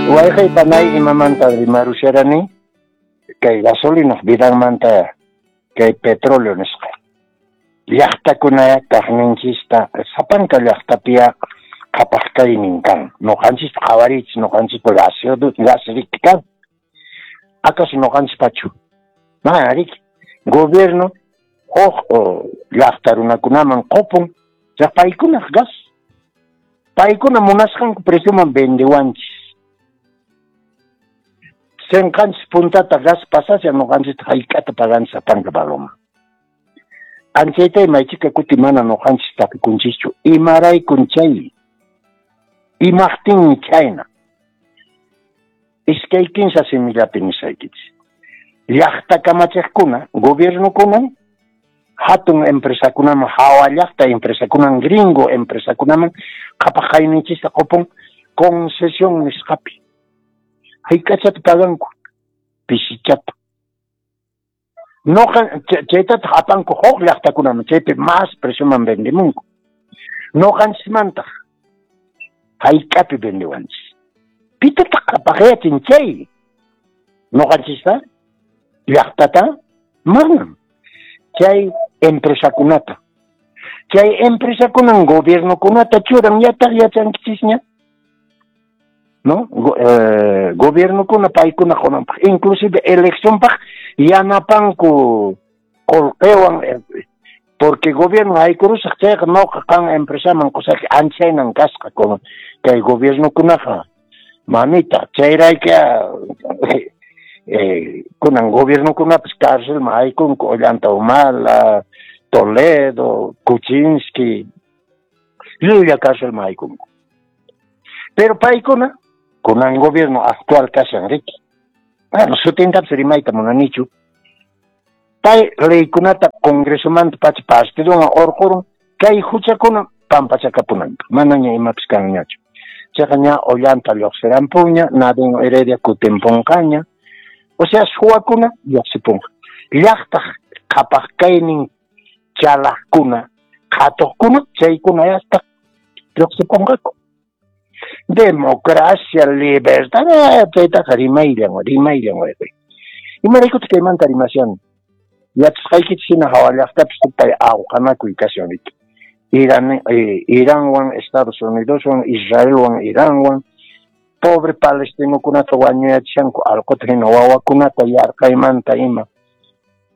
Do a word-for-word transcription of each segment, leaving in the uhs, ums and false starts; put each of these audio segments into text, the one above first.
Wayqey panay, imamanta rimarusharani? Kay gasolinaq vidanmanta, kay petróleo nisqa. Llaqtakuna kaqninchista, sapanka llaqtapiya qhapaq kaynin kan. Noqanchispa qhawariychis, noqanchispa gasoducto gas riki kan. ¿Acaso noqanchispachu? Mana riki. Gobierno huk llaqta runakunaman qupun, chay paykunaq gas. Paykuna munasqanku precioman vendewanchis. Senqanchis puntata gas pasasha, noqanchista hayk'ata paganchis sapanka paloma. Anchaytay maychika kuti mana noqanchis tapikunchischu. Imaraykun chay? Imaqtinmi chayna? Iskay kinsa simillapi nisaykichis. Llaqta kamachiqkuna, gobiernokunan, hatun empresakunaman, hawa llaqta empresakunan, gringo empresakunaman qhapaq kayninchista qupun concesión nisqapi. Hayk'achata paganku? Pisichata. Noqa chaytataq apanku huk llaqtakunaman, chaypi más precioman vendemunku. Noqanchismantaq hayk'api vendewanchis. Pitataq qhapaqyachin chay? Noqanchista? Llaqtata? Manam. Chay empresakunata. Chay empresakunan gobiernokunata churan, yataq yachankichisña. ¿No? Go, eh, gobiernokuna paykuna qunanpaq, inclusive eleccionpaq yanapanku qolqewan, porque gobierno haykurusaq chayqa noqa qan empresaman qusaq, anchaynan kasqa como kay gobiernokunaqa, mamita, chayrayka eh, kunan gobiernokunapas cárcelman haykunku, Ollanta Humala, Toledo, Kuczynski, llulla cárcelman haykunku. Pero paykuna, kunan gobierno actual kashan riki. Bueno, sutintapis rimayta munanichu. Pay leykunata congresomanta pacha partidowan urqurun kay huchakuna pampachakapunanpaq. Manaña imapis kanñachu. Chayqa ña Ollanta lluqsirampuña, Nadine Heredia kutimpunqaña. O sea, suwakuna lluqsipunqa. Llaqtaq qhapaq kaynin chalaqkuna, qhatuqkuna, chaykuna yastaq lluqsipunqaku. Democracia, libertad, chaytaqa rimayllan, rimayllan wayqey. Imaraykutaq kaymanta rimashan? Yachasqaykichis hina hawa llaqtapis supay awqanakuy kashan riki. Irán, eh, Iranwan, Estados Unidoswan, Israelwan, Iranwan, pobre palestinokunata wañuyachishanku allquta hina, wawakunata yarqaymanta ima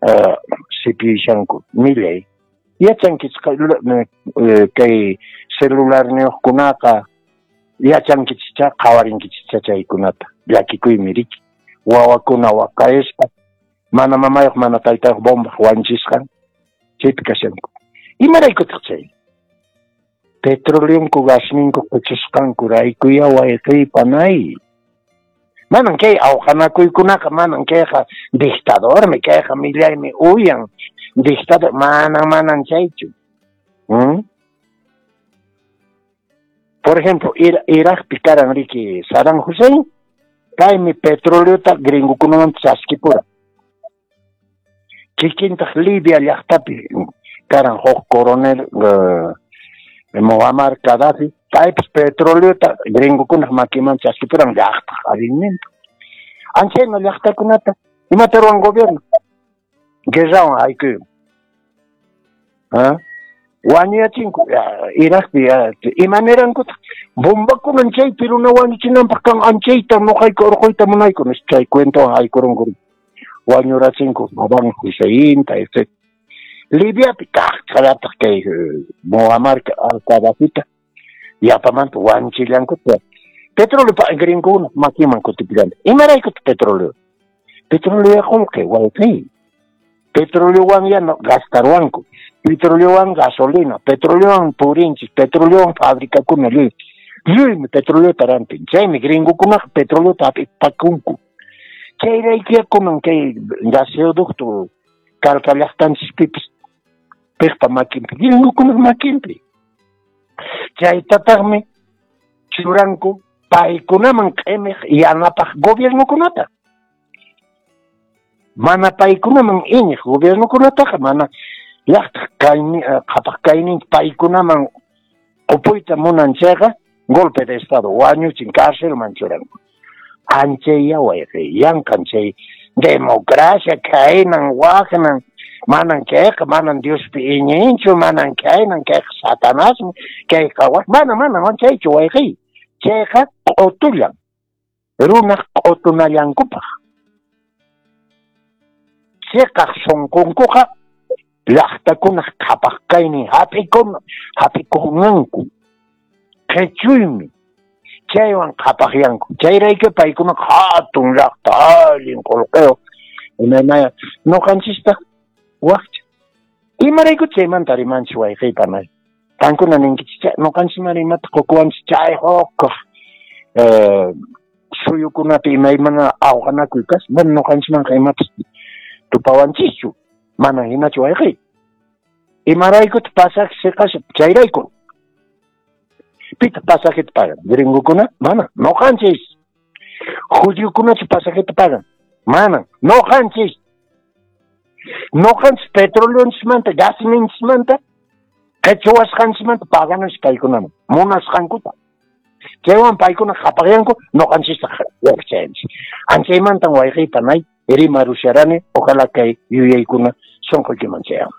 uh, sipiyashanku, millay. Yachankichis kay celularniyuqkunaqa, yachankichischá, qhawarinkichischá chaykunata. Llakikuymi riki. Wawakuna waqayaspa, mana mamayuq, mana taytayuq bombaq wanchisqan, chaypi kashanku. Imaraykutaq chay? Petroleonku gasninku quchusqankuraykuya wayqiy panay. Manan kay awqanakuykunaqa, manan kayqa dictadormi, kayqa millaymi uyan dictador, manan manan chaychu. ¿Mm? Por ejemplo, Ir Irakpi karan riki Saddam Hussein, kaymi petroleota gringokunaman chaskipura. Kikintaq Libia llaqtapi karan huk coronel uh, Muammar Gaddafi, paypis petroleota gringokunaq makiman chaskipuran llaqtaq allinninta. Anchayna llaqtakunata imata ruwan gobierno? Guerrawan haykuyun. ¿Ah? Wañuyachinku Irakpi imanirankuta bombakunan chaypi runa wañuchinanpaq kan, anchayta noqayku urquyta munayku nispa chay cuentowan haykurunku, wañurachinku Saddam Husseinta, etcétera. Libiapi kaqllataq kay Muammar al-Gaddafita yapamanta wanchillankuta. Petróleo gringokuna makinman kutipillanta. Imaraykutaq petróleo? Petróleo qullqi wayqiy. Petroleowan ya no gastaruwanku. Petroleowan gasolina, petroleowan purinchis, petroleowan fabricakuna lluy. Lluymi petroleota rantin. Chaymi gringokunaqa petroleota hap'ipakunku. Chayraykuya kunan kay gasoducto Calca llaqtanchispipis piqpa makinpi, gringokunaq makinpi. Chaytataqmi churanku paykunaman q'imiq yanapaq gobiernokunata. Mana paykunaman iñiq gobiernokunataqa mana llaqtaq kayni qhapaq kaynin paykunaman qupuyta munan chayqa golpe de estado, wañuchin, cárcelman churanku. Anchayya wayqi, yanqan chay democracia khaynan waqnan, manan kayqa, manan Diospi iñinchu, manan khaynan, kayqa satanasmi, kayqa waq, mana, mana, chaychu wayqi. Chayqa q'utullan, runaq q'utunallankupaq. Chiqaq sunqunkuqa llaqtakunaq qhapaq kaynin hap'ikun hap'ikunanku qhichuymi chaywan qhapaqyanku. Chayrayku paykunaqa hatun llaqta allin qullqiyuq imaymaya ñuqanchistaq wakcha. Imarayku chaymanta rimanchis wayqiy panay? Qankuna ninkichis ñuqanchisman imata qukuwanchis chay hukaq eh, suyukunapi imaymana awqanakuy kas mana ñuqanchismanqa imapas tupawanchischu. Mana hinachu wayqiy. Imaraykutaq pasaje siqashan? Chayrayku. Pitaq pasajeta pagan? Gringokuna? Mana. Ñuqanchis. Judiokunachu pasajeta pagan? Mana. Ñuqanchis. Ñuqanchis petroleonchismanta, gasninchismanta, qhichuwasqanchismanta pagananchis paykunaman. Munasqankuta. Chaywan paykuna qhapaqyanku, ñuqanchistaq wakchayanchis. Anchaymantan wayqiy panay rimarusharani, ojalá kay yuyaykuna sunquykiman chayanman.